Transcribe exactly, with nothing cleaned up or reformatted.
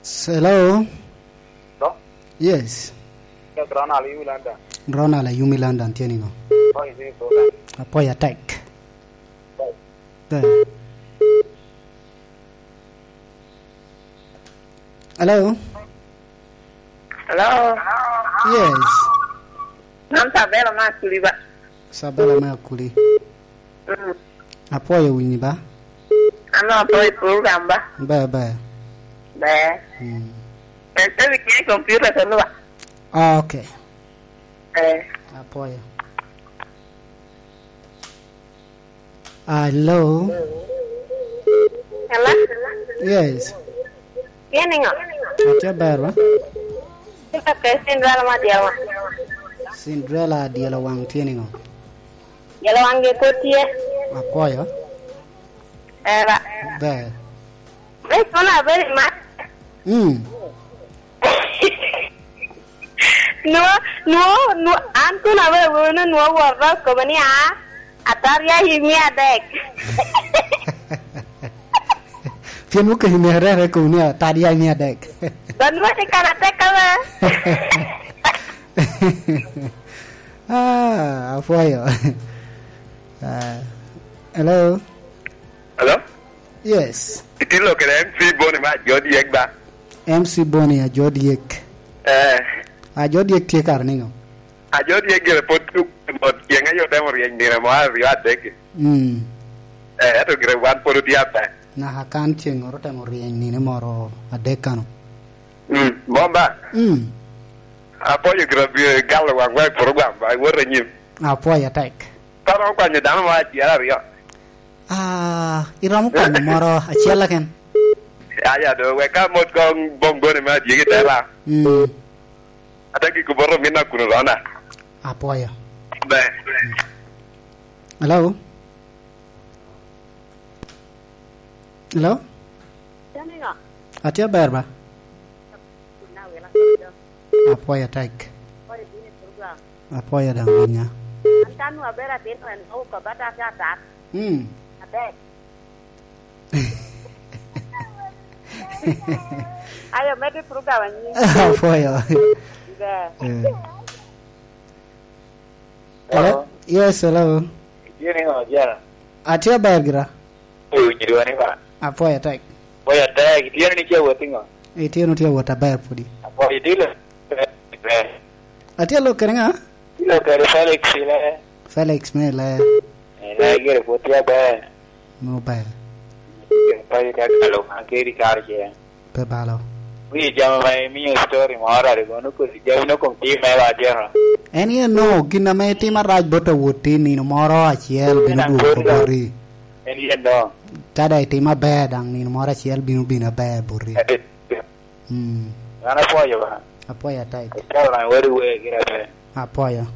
Hello? Hello? Yes. Yes, Ronald, Yumi London. Ronald, Yumi London, tye niŋo? How is it, brother? Apwoyo atek. Bye. Hello? Hello? Yes. An Sabela me Akuli ba. Sabela me Akuli. Mm. Apwoyo winyi ba. An apwoyo program ba. Ber, ber. Ber. Mm. Ese bi tye i computer to lwa. Ah, okay. Eh. Apwoyo. Hello? Hello? Yes. Tye niŋo? Atye ber ba? Tye ka pe Cinderella ma dyawa. Cinderella adyelo waŋ tye niŋo? Dyelo waŋ gi pwod tye. Apwoyo. Era. Ber. Ber kono abedo i mat. Mm. Nwo, nwo, nwo, an kun awe wunu nwo woro kobo ni a, ataria i mia adek. Pien okelo ni arere kobo ni ataria i mia adek. Ba nwo ni kan atek kama. Ah, apwoyo. Ah, hello? Hello? Yes. Itye lok kede M C Boni me Ajod Yek ba? M C Boni Ajod Yek. Eh. Ajod Yek tye kare niŋo? Ajod Yek gire pwod tuk mot, ceng aye otemo ryeny nino mo aryo adek. Mm. Eh, ento gire wan pwod otye aber. Naka kan ceŋŋoro otemo ryeny nino moro adek kano. Mm, mom ba? Mm. Apwoyo gire bino galo waŋ wa i program ba, iwot anyim. Apwoyo atek. Ka romo kwanyo dano mo acel aryo. Ah, iromo kwanyo moro acel keken? Aya do, wek ka mot koŋ boŋ goni me adyegi te ba. Mm. Ate giko boto min akunu rona. Apwoyo. Ber. Hello? Hello? Atye aber ba? Apwoyo atek. Apwoyo daŋ winya. An ka nwoŋo abedo atin, en nwoŋo kobba atat atat. Mm. Atek. Ayo, medde program anyim. Apwoyo. Ber. Eh. Hello? Hello? Yes, hello. Itye niŋo, Jara? Atye aber gira. Owinyo dwoni ba? Apwoyo atek. Apwoyo atek. Itye ni tye awot iŋo? Itye ni tye awot aber pwodi. Apwoyo itye lo-, ber. Atye lok kede ŋa? Itye lok kede Felix Ile. Felix me Ile. Ile gire pwod tye aber. Mo ber. Gire payo ka kalo, an keri karo ce. Pe balo. Wi jami ma imio story moro rik kono kodi jami no kom tim me wa atyeno. En ye no, gin ame itim arac bot awoti nino moro acel bino dwoko boti. En ye no. Ka daŋ itim aber daŋ nino moro acel bino bino aber boti. Eh, eh. Mm. An apwoyo ba. Apwoyo atek. Icalo na wadi we gira pe. Apwoyo.